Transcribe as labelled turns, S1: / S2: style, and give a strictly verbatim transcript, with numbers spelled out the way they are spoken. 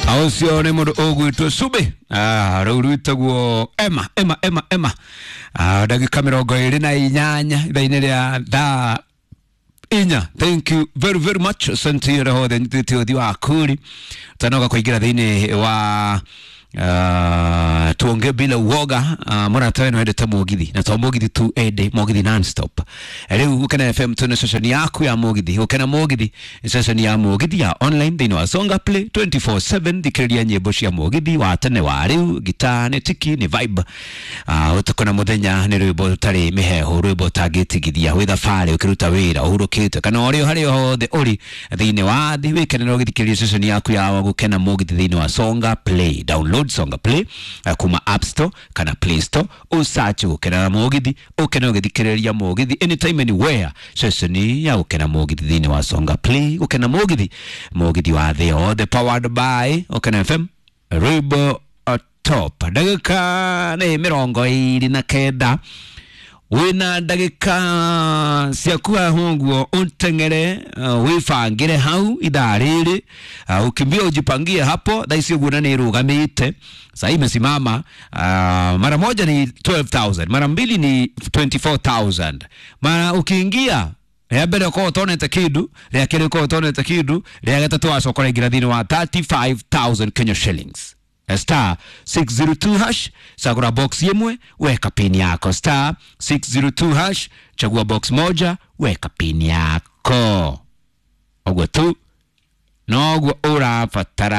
S1: Ũcio nĩ mũndũ ũgwĩtwo Subi, ah, rĩu rwĩtagwo Emma Emma Emma Emma. Ah, ndagĩka mĩrongo ĩrĩ na inyanya ithaa-inĩ rĩa thaa inya. Thank you very very much, asante hothe nyitĩte ũthi wa kuri tanoga kũingĩra thĩinĩ wa Uh, tuonge bila uoga. uh, mũrata we nĩwendete mũgithi na to mũgithi tu, ende mũgithi non-stop. Rĩu Gũkena F M tuna station yaku ya mũgithi. Gũkena Mũgithi nĩ station ya mũgithi ya online thĩinĩ wa Songa Play twenty-four seven. Thikĩrĩria nyĩmbo cia mũgithi wa tene, wa rĩu, gita nĩ tiki nĩ vibe, uh, ũtukũ na mũthenya nĩ rwĩmbo rũtarĩ mĩhehu, rwĩmbo ũtangĩtigithia wĩ thabarĩ, ũkĩruta wĩra, ũhurũkĩte, kana ũrĩ o harĩa hothe ũrĩ thĩinĩ wa thĩ. Wĩkenere ũgĩthikĩrĩria station yaku ya Gũkena Mũgithi thĩinĩ wa Songa Play. Download Songa Play uh, kuma App Store kana Play Store, usearch Gũkena Mũgithi, ũkene ũgĩthikĩrĩria mũgithi anytime, anywhere. Station ya Gũkena Mũgithi thĩinĩ wa Songa Play. Gũkena Mũgithi, mũgithi wa thĩ yothe, powered by Gũkena F M, rwĩmbo uh, top. Ndagĩka nĩ mĩrongo ĩrĩ na kenda, wĩna ndagĩka ciaku haha ũguo ũteng'ere, uh, wĩbangĩre hau ithaa rĩrĩ, uh, ukimbia ujipangie hapo. Thaa ici ũguo na nĩ ĩrũgamĩte sasa, imesimama. uh, mara moja ni elfu kumi na mbili, mara mbili ni makumi ishirini na nne, mara ukiingia rĩa mbere ũkorwo ũtonete kĩndũ, rĩa kerĩ ũkorwo ũtonete kĩndũ, rĩa gatatũ wacoka ũraingĩra thĩinĩ wa mĩrongo ĩtatũ na ithano Kenya shillings. Star six zero two hash, chagura box imwe, weka pin yako. Star six zero two hash, chagua box moja, weka pin yako. Ũguo tu noguo ũrabatara.